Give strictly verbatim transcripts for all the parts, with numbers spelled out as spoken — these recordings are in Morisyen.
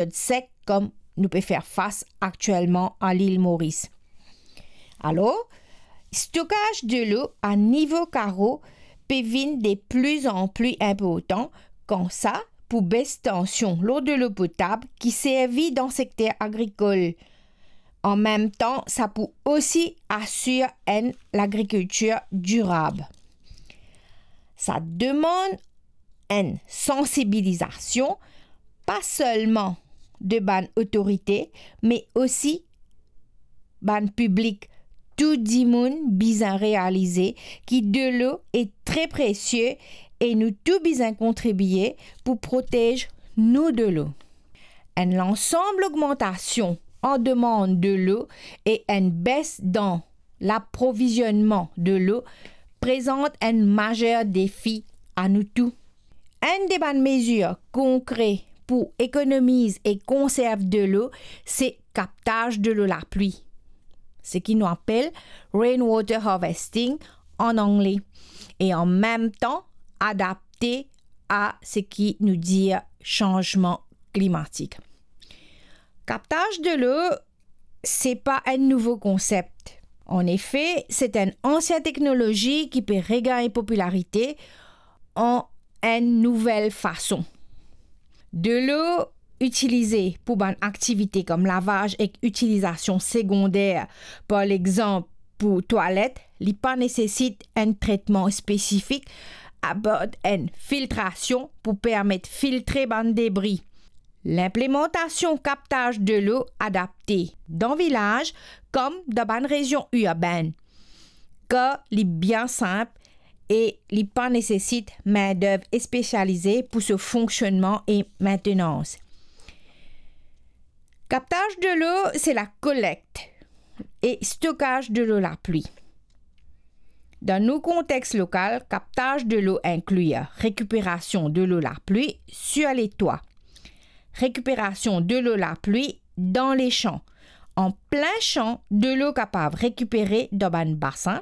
period sek kom nou pe fer fas aktielman a Lil Moris. Alor, stokaz delo a nivo karo pe vinn de pli an pli inportan, kan sa pou bes tansion lor delo potab ki servi dan sekter agrikol. An mem tan, sa pou osi asir enn lagrikiltir dirab. Sa demann enn sansibilizasion, pa selman de bann otorite, me osi bann piblik. Tou dimoun bizin realize ki delo e tre presie e nou tou bizin kontribie pou protez nou delo. Enn lansam logmantasion an demann delo e enn bes dan laprovizionman delo prezant enn mazer defi a nou tou. Enn de bann mezir konkre pou ekonomiz e konserv delo, se kaptaz delo lapli, seki nou apel rainwater harvesting an angle, e an mem tan adapte a seki nou dir sanzman klimatik. Kaptaz delo, se pa enn nouvo konsep. Anefe, se enn ansien teknolozi ki pe regagn popilarite an enn nouvel fason. Delo itilize pou bann aktivite kom lavaz ek itilizasion segonder, par lexanp pou twalet, li pa nesesit enn tretman spesifik, apar enn filtrasion pou permet filtre bann debri. Linplimantasion kaptaz delo adapte dan vilaz kom dan bann rezion irbenn, kan li bien sinp e li pa nesesit mindev spesialize pou so fonksionnman e maintenans. Kaptaz delo, se lakolekt e stokaz delo lapli. Dan nou kontex lokal, kaptaz delo inkli rekiperasion delo lapli sir letwa, rekiperasion delo lapli dan lesan. An plin san, delo kapav rekipere dan bann basin,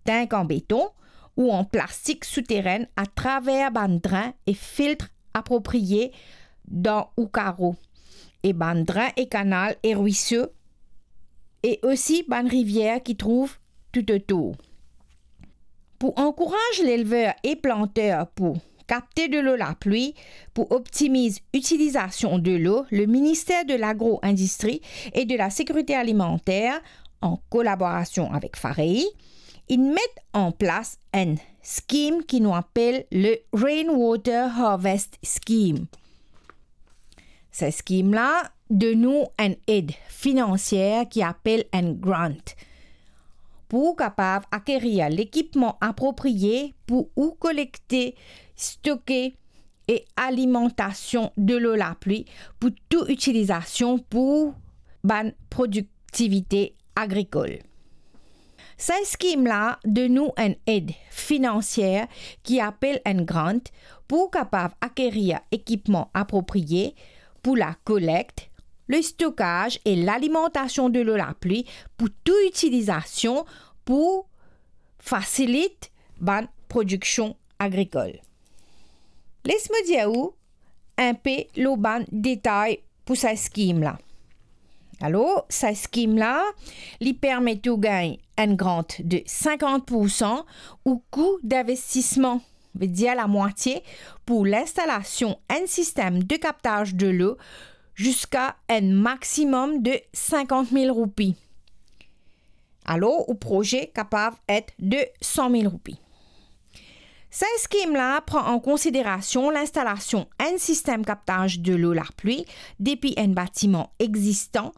tank an beton ou an plastik souteren atraver bann drin e filtr apropriye dan ou karo, e bann drin e kanal e rwiso, e osi bann rivier ki trouv toutotour. Pou ankouraz lelver e planter pou kapte delo lapli pou optimiz itilizasion delo, le Ministère de l'Agro-Industrie et de la Sécurité Alimentaire, an kolaborasion avek FAREI, inn met an plas enn skim ki nou apel le Rainwater Harvest Scheme. Sa skim la donn ou enn ed finansier ki apel enn grant, pou ou kapav akerir lekipman apropriye pou ou kolekte, stoke e alimantasion delo lapli pou tou itilizasion pou bann prodiktivite agrikol. Sa skim la donn ou enn ed finansier ki apel enn grant pou ou kapav akerir ekipman apropriye pou lakolekt, lestokaz e lalimantasion delo lapli pou tou itilizasion pou fasilit bann prodiksion agrikol. Les mo dir ou inpe lor bann detay pou sa skim la. Alor, sa skim la, li permet ou gagn enn grant de sinkant poursan ou kou dinvestisman, vedir lamwatie, pou linstalasion enn sistem de kaptaz delo ziska enn maximum de sinkant mil roupi. Alor, ou proze kapav et de san mil roupi. Sa skim la pran an konsiderasion linstalasion enn sistem kaptaz delo lapli depi enn batiman existan,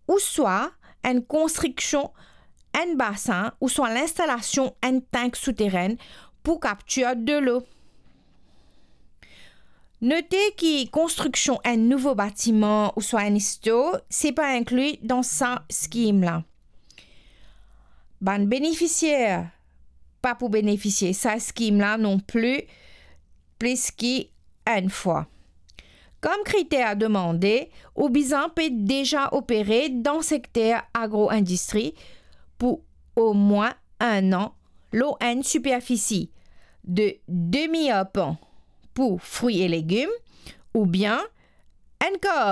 ouswa enn konstriksion enn basin, ouswa linstalasion enn tank souteren pou kaptir delo. Note ki konstriksion enn nouvo batiman ouswa enn stor, se pa inkli dan sa skim la. Bann benefisier pa pou benefisie sa skim la non pli plis ki enn fwa. Kom kriter demande, ou bizin pe deza opere dan sekter agro-indistri pou omwin enn an lor enn siperfisi de demi arpan pou fri e legim, oubien Ankor,